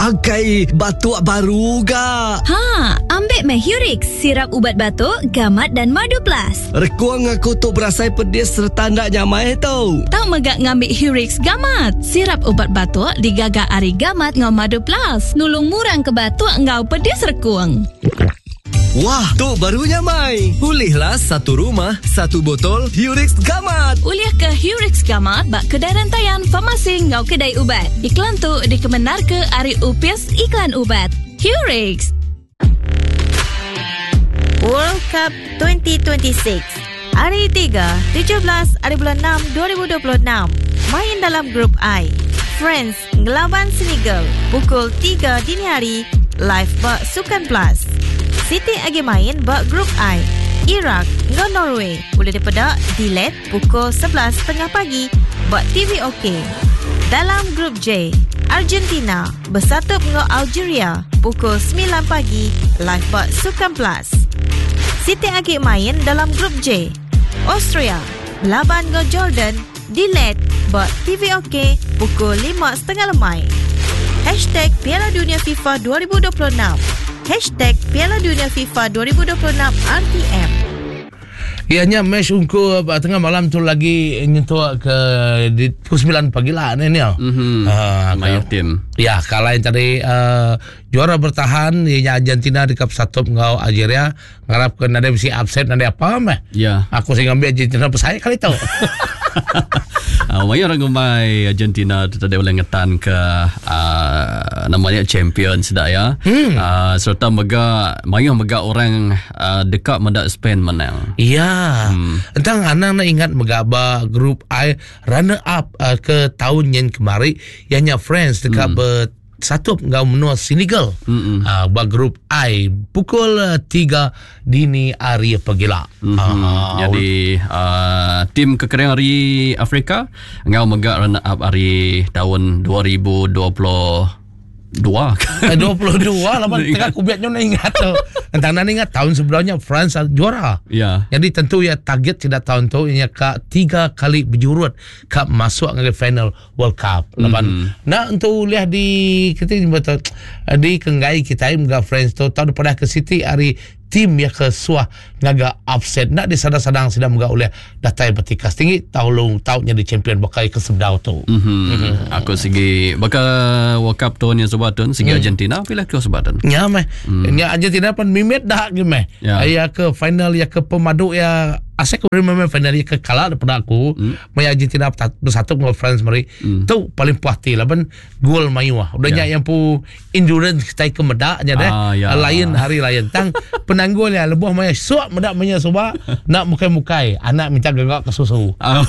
Akai batuk baru ga. Ha, ambik meh Hurix, sirap ubat batuk, gamat dan madu plus. Rekung aku tu berasai pedis sereta enda nyamai tu. Tau mega ngambi Hurix Gamat, sirap ubat batuk digaga ari gamat enggau madu plus, nulung murang ke batuk enggau pedis rekung. Wah, tu baru nyamai. Ulihlah satu rumah, satu botol Hurix Gamat. Ulih ke Hurix Gamat ba kedai rentayan, farmasi enggau kedai ubat. Iklan tu dikemendarka ari Upis Iklan Ubat. Hurix. World Cup 2026 Hari 3, 17 hari bulan 6, 2026 Main dalam Grup I France ngelaban Senegal pukul 3 dini hari live ba Sukan Plus. Siti agi main ba Grup I Iraq enggau Norway ulih dipeda di led pukul 11.30 pagi ba TV OK. Dalam Grup J, Argentina besatup enggau Algeria pukul 9 pagi live ba Sukan Plus. Siti agi main dalam Grup J, Austria belaban enggau Jordan di led ba TV OK pukul 5.30 lemai. Hashtag Piala Dunia FIFA 2026. Hashtag Piala Dunia FIFA 2026 RTM. Iya nya match ungkup uh, tengah malam tu lagi nyentuk ke di pukul 9 pagi lah ni ni. Mm-hmm. Uh, Mayuh tim. Ya, kalau yang tadi uh, juara bertahan ianya Argentina dekat satu enggau Algeria ngarap ke nadai bisi upset nadai apa meh. Ya. Aku sih ngambil Argentina besai kali tu. Uh, mayuh orang ngumbai Argentina tu tadi boleh ngetan ke uh, namanya champion sudah ya. Hmm. Uh, serta mega mayuh mega orang uh, deka meda Spain menang. Ya. Hmm. Entang anang nak ingat mega ba grup I runner up uh, ke tahun yang kemari ianya France deka hmm. bersatu enggau menua Senegal. Hmm. Uh, ba grup I pukul 3 dini hari pagila. Mm-hmm. Uh, Jadi uh, tim kekering hari Afrika enggau mega runner up hari tahun 2022 Eh, 22 lah tengah aku biar nak ingat tu. Entang nak ingat tahun sebelumnya France juara. Ya. Jadi tentu ya target tidak tahun tu ianya ka tiga kali berjurut ka masuk ke final World Cup. Laban mm-hmm. nak untuk lihat di kita ni betul di kenggai kita mga France tu tahun pada ke City hari tim ya ke suah ngaga upset nak disadang-sadang sedang mga oleh datai bertikas tinggi tahun long tahun jadi champion bakai ke sebdau tu. Mm-hmm. Mm-hmm. Aku segi bakal World Cup tahun yang sebatun segi Argentina pilih ke sebatun. Ya meh. Hmm. Ya Argentina pun mimit dah ke meh. Ya. Ya ke final ya ke pemadu ya asyik aku remember final ya ke kalah daripada aku. Hmm. Maya Argentina bersatu dengan France mari. Hmm. Tu paling puas hati lah ben gol mayu ah. Udah Ya. ya. yang pu endurance kita ke medak nya deh. Ah, ya. Lain hari lain. Tang penanggul ya lebuh maya suak medak maya suba nak mukai-mukai anak minta gagak ke susu. Ah.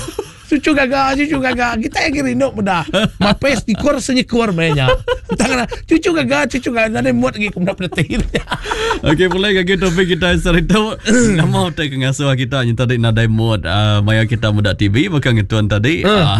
Cucu gagak, cucu gagak. Kita yang rindu benda. Mapes dikor senyekor mainnya. Tangan cucu gagak, cucu gagak. Nanti muat lagi kemudian penting. Okey, boleh lagi topik kita cerita nama utai ke ngasuh kita yang tadi nadai mood uh, maya kita muda TV bukan ngetuan tadi. Uh.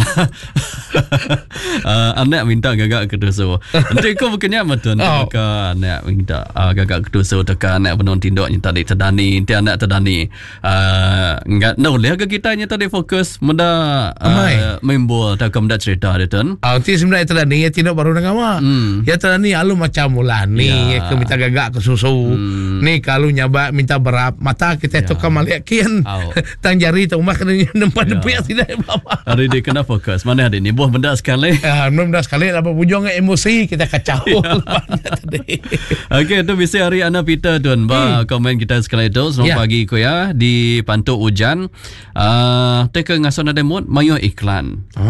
uh, anak minta gagak ke tusu. Nanti kau bukannya betul Oh. oh. anak minta uh, gagak ke tusu teka anak penon tinduk yang tadi terdani, nanti anak terdani. Uh, enggak no boleh ke kita yang tadi fokus muda Amai. uh, main bola atau muda cerita dia tuan. Ah, nanti sebenarnya tadi ya tidak baru nak awak. Hmm. Ya tadi alu macam mula ni Ya. ya. ke minta gagak ke susu. Hmm. Ni kalau nyaba minta berap mata kita Ya. tu kan maliak kian. Au. Tang jari tu rumah kena nempat Ya. ya. depan tidak apa. Hari dia kena fokus. Mana hari ni buah benda sekali. Ah, belum dah sekali apa bujung emosi kita kacau. Lepas tadi. Okey, tu bisa hari Ana Peter tuan. Ba komen kita sekali tu selamat Ya. pagi ku ya di Pantuk Hujan. Uh, teka ngason ada mood mayo iklan. Ah.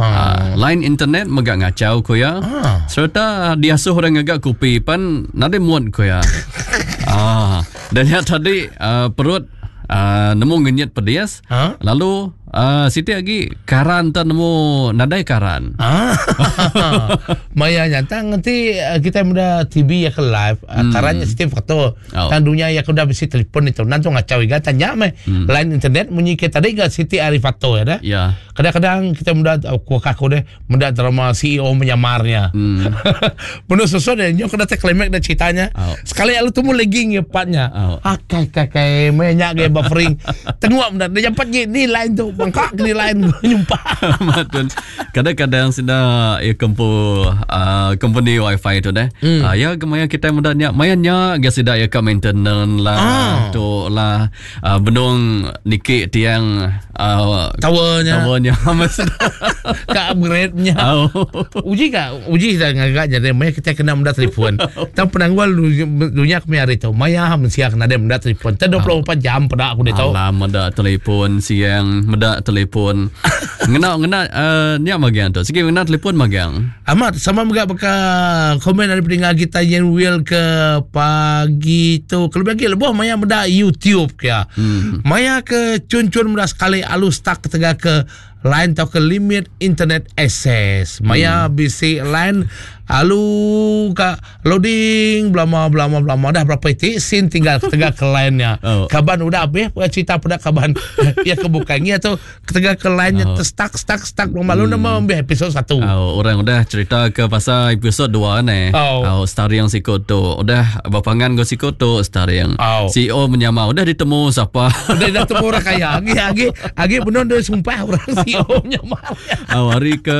Uh, line internet megak ngacau ku ya. Ah. Serta diasuh orang ngagak kopi pan nade mood ku ya. ah, dan yang tadi uh, perut uh, nemu ngenyit pedes. Ha? Lalu uh, siti lagi karan tak nemu nadai karan. Ah. Maya nyata nanti eh, kita muda TV ya ke live hmm. Karannya setiap foto. Oh. Tan dunia ya kuda bisi telefon itu nanti ngacau iga tanya meh. Line internet munyi ke tadi ga Siti Arifato ya dah. Ya. Kadang-kadang kita muda aku aku deh muda drama CEO menyamarnya. Hmm. Penuh sesuatu deh nyok kena klimak dan ceritanya. Oh. Sekali alu tumu legging ya patnya. Oh. Akai kakai menyak ge buffering. Tengok muda dia jampat je ni line tu bangkak ni line nyumpa. Matun. Kadang-kadang sudah ya kempu uh, company wifi tu deh. Mm. Uh, ya gemaya kita meda nya maya nya ga sida ya ka maintenance lah ah. tu lah uh, benung niki tiang uh, towernya towernya ka upgrade nya. Oh. Uji ka uji kita ngaga jadi maya kita kena meda telefon. Tang penanggul dunya kami hari tu maya mensia kena ada meda telefon. Tang 24 jam peda aku ditu. Alam meda telefon siang meda telefon. Ngena ngena uh, nya magang tu. Sigi ngena telefon magang. Amat sama mega baka komen dari pendengar kita yang will ke pagi tu. Kelebih lagi lebuh maya meda YouTube ke. Hmm. Maya ke cun-cun meda sekali alus stuck ketegal ke line tau ke limit internet access. Maya hmm. bisi line alu ka loading belama belama belama dah berapa itik sin tinggal ketegal ke line-nya. Oh. Kaban udah habis cerita pada kaban ya kebukannya tu Ketegal ke line nya oh. terstuck stuck stuck malu hmm. nama ambil episod 1. Oh, orang udah cerita ke pasal episod 2 ni. Oh. oh starring sikut tu. Udah bapangan go sikut tu starring. Oh. CEO menyamar udah ditemu siapa. Udah dah temu orang kaya. Agi agi agi benar dia sumpah orang CEO menyamar. Oh, hari ke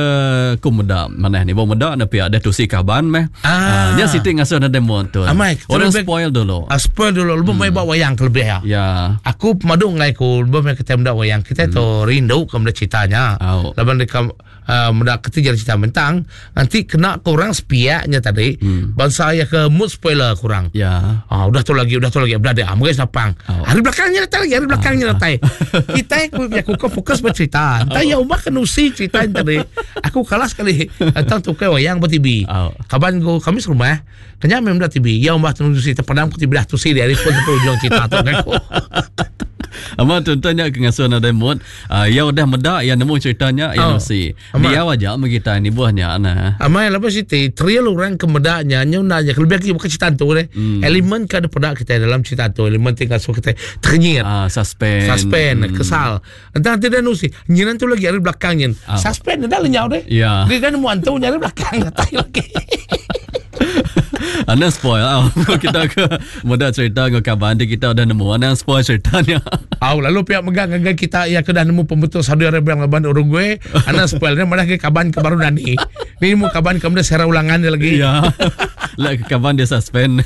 ku meda mana ni bo meda na pia dah tusi kaban meh. Ah. Uh, dia siti ngasuh na demo tu. Amai, orang spoil dulu. Ah, spoil dulu. Lebih hmm. mai bawa wayang ke lebih ya. Ya. Aku pemadu ngai ku lebih mai kita meda wayang. Kita hmm. tu rindu ke meda ceritanya. Oh. Laban dekat uh, meda ketiga cerita mentang nanti kena kurang sepiaknya tadi. Hmm. Bangsa ya ke mood spoiler kurang. Ya. Ah, udah tu lagi, udah tu lagi. Udah ada. Ah, mungkin sapang. Oh. Hari belakangnya datang lagi, hari belakangnya ah. datang. Kita aku aku kau fokus bercerita. Entah oh. ya umah kenusi cerita tadi. Aku kalah sekali. Entah tu ke wayang ber TV. Oh. Kaban go kami serumah. Kenya memang dah TV. Ya umah tenusi terpadam ku TV dah tusi dia hari pun sampai ujung cerita tu kan. Amat contohnya ke ngasuh nadai mood. Uh, ya udah meda ya nemu ceritanya ya oh. nusi. Dia aja kita ni buahnya nah. Amai lepas siti thrill orang ke meda nya nyu na nya lebih lagi bukan cerita tu deh. Hmm. Elemen ke ada peda kita dalam cerita tu elemen tinggal so kita ternyit. Ah suspense. Suspense, hmm. kesal. Entah nanti dia nusi. Nyinan tu lagi ada belakang nyin. Ah. Suspense dah lenyau deh. Ya. Dia dah nemu antu nyari belakang datai lagi. Anda spoil ah. kita ke muda cerita dengan kawan dia kita dah nemu anda spoil ceritanya. Au lalu pihak megang dengan kita yang ke dah nemu pembetul Saudi Arabia lawan Uruguay, anda spoil dia malah ke kaban ke baru nani. Ni nemu kaban ke benda secara ulangan dia lagi. Ya. Lah ke kaban dia suspend.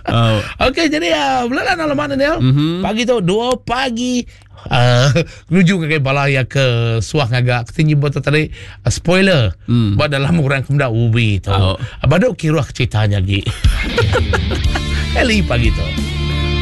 Oh. Okey jadi uh, belalah alamat Daniel. Mm-hmm. Pagi tu 2 pagi uh, menuju ke bala ya ke suah ngaga ketinggi buat tadi uh, spoiler mm. buat dalam orang kemuda ubi tu. Oh. Baduk kiruah ceritanya lagi. Eli pagi tu.